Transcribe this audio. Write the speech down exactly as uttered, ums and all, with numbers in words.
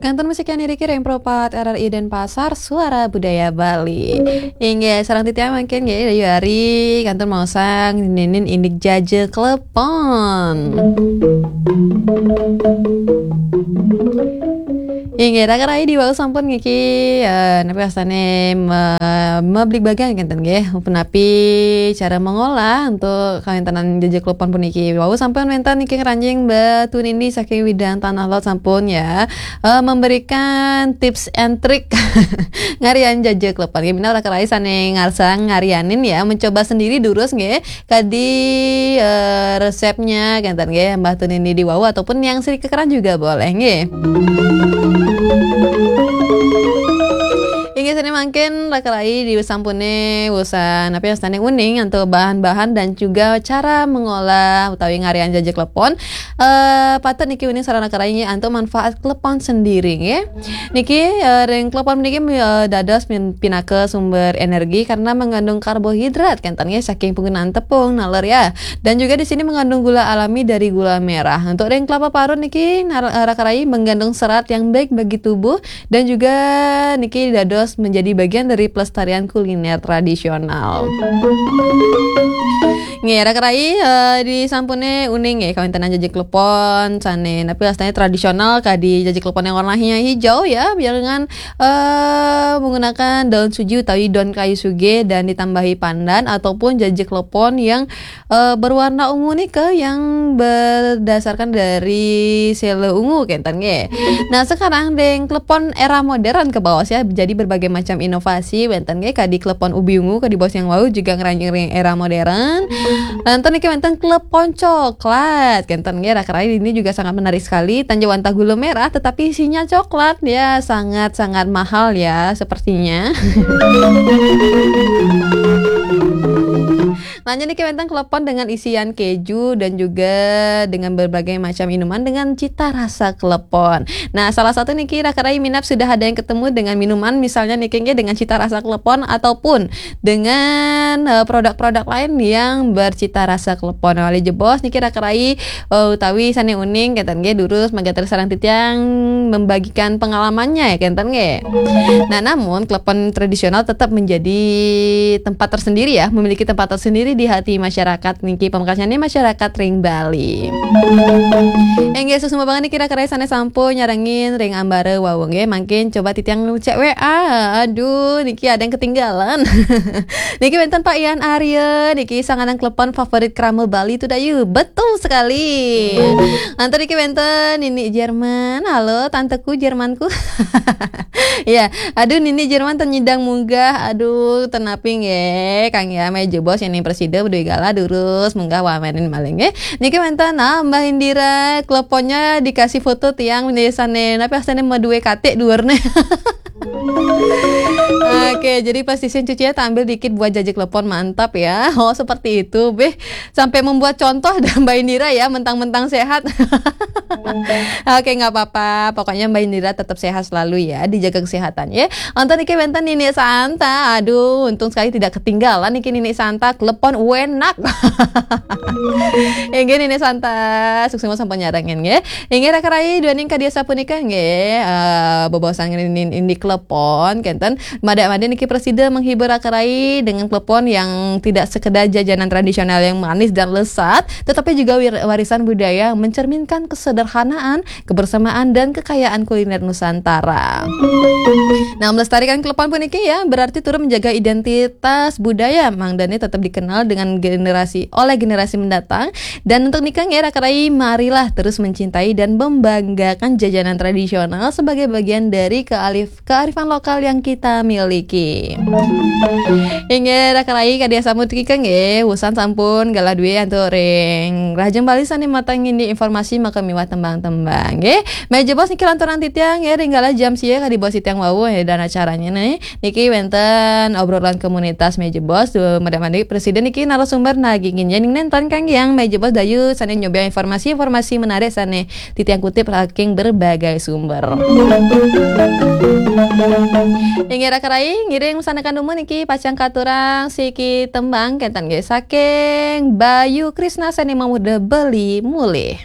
Kantor musik yang niriki Reng Pro Empat R R I Denpasar, Suara Budaya Bali. Inggih, sareng titiang mangkin nggih, Dayu Ari, kantor maosang ninin indik jaja klepon. Inggih, raka rai di wau sampun niki, eh, napi wastane me-, mebligbagan kenten nggih, punapi cara mengolah untuk kawéntenan jaja klepon puniki. Wau sampun wénten niki ngranjing Mbah Tunini saking Widang Tanah Lot sampun ya, eh, memberikan tips and trick ngarian jaja klepon. Nggih, minab raka rai sane ngarsang ngarianin ya, mencoba sendiri durus nggih. Kadi, eh, resepnya kenten nggih, Mbah Tunini di wau ataupun yang sri kekeran juga boleh nggih. Inggih sane mangkin raka rai di sampune usan apa ya, sane uning antuk bahan-bahan dan juga cara mengolah utawi ngarian jaja klepon. Eh, patut niki uning sareng raka rai nggih antuk manfaat klepon sendiri nggih. Niki, eh, ring klepon niki, eh, dados min-, pinaka sumber energi karena mengandung karbohidrat kenten nggih saking penggunaan tepung naler ya. Dan juga di sini mengandung gula alami dari gula merah. Untuk ring kelapa parut niki nar-, eh, raka rai mengandung serat yang baik bagi tubuh dan juga niki dados menjadi bagian dari pelestarian kuliner tradisional. Nggih, raka rai, eh, di sampune uning nggih kawéntenan jaja klepon sane napi wastane tradisional kadi jaja klepon yang warnanya hijau ya, dengan, eh, menggunakan daun suji utawi daun kayu suge dan ditambahi pandan ataupun jaja klepon yang, eh, berwarna ungu nika yang berdasarkan dari sele ungu kenten nggih. Nah, sekarang deng klepon era modern ke bawah ya, jadi berbagai macam inovasi wénten nggih kadi klepon ubi ungu kadi bos yang wau juga ngranjing ring era modern. Lantas niki wénten klepon coklat kenten nggih, raka rai ini juga sangat menarik sekali. Tan jawantah gula merah tetapi isinya coklat ya, sangat-sangat mahal ya sepertinya. Lanjut niki wénten klepon dengan isian keju dan juga dengan berbagai macam minuman dengan cita rasa klepon. Nah, salah satu niki raka rai minab sudah ada yang ketemu dengan minuman misalnya niki nggih dengan cita rasa klepon ataupun dengan, eh, produk-produk lain yang bercita rasa klepon. Malih jebos niki raka rai, eh, utawi sane uning kenten nggih durus manggater sareng titiang membagikan pengalamannya ya kenten nggih. Nah, namun klepon tradisional tetap menjadi tempat tersendiri ya, memiliki tempat tersendiri di hati masyarakat niki pamekasane masyarakat ring Bali. Inggih, suksma banget niki raka rai sane sampun nyarengin ring ambara wau nggih. Mangkin coba titiang ngecek W A. Aduh, niki ada yang ketinggalan. Niki wénten Pak Ian Arya, niki sanganan klepon favorit krama Bali tu Dayu. Betul sekali. Antar niki wénten Nini Jerman. Halo, tanteku Jermanku. Ya, aduh Nini Jerman ten nyidang munggah. Aduh, ten napi nggih, Kang ya, malih jebos yen prasida beduwe galah durus munggah wau main malih nggih. Niki wénten, ah, Mbah Indira, kleponnya dikasih foto tiang desane, napi astane meduwe katik dhuwurne. Oke, jadi plastisin cucinya tak ambil dikit buat jaja klepon, mantap ya. Oh, seperti itu, beh. Sampai membuat contoh dah Mbak Indira ya, mentang-mentang sehat. Oke, nggak apa-apa. Pokoknya Mbak Indira tetap sehat selalu ya, dijaga kesehatan ya. Antar niki wénten Nini Santa. Aduh, untung sekali tidak ketinggalan niki Nini Santa. Klepon wenak. Inggih Nini Santa, suksma sampun nyarengin nggih. Inggih raka rai duaning kadi sapunika nggih, eh, bebaosan ngenin indi klepon kenten. Madak-madak niki prasida menghibur raka rai dengan klepon yang tidak sekedar jajanan tradisional yang manis dan lezat, tetapi juga wir-, warisan budaya yang mencerminkan kesederhanaan, kebersamaan, dan kekayaan kuliner Nusantara. Nah, melestarikan klepon puniki ya, berarti turut menjaga identitas budaya mangdane tetap dikenal dengan generasi, oleh generasi mendatang. Dan untuk nika nggih raka rai, marilah terus mencintai dan membanggakan jajanan tradisional sebagai bagian dari kealif-, kearifan lokal yang kita miliki. Inggih raka rai, kadi sampun nika nggih, usan sampun galah duwe antuk ring Rahajeng Bali sane mateng indi informasi maka miwah tembang-tembang nggih. Malih jebos niki lantaran titiang nggih ring galah jam sia kadi bos titiang wau ya dan acaranya nih. Niki wénten obrolan komunitas malih jebos, duh, madak-madak prasida niki narasumber nagingin yening nenten kang yang malih jebos Dayu sane nyoba informasi-informasi menarik sane titiang kutip saking berbagai sumber. Inggih raka rai, ngiring sanekan dumun niki pacang katurang siki tembang kenten nggih saking Bayu Krisna sane mamuda beli mulih.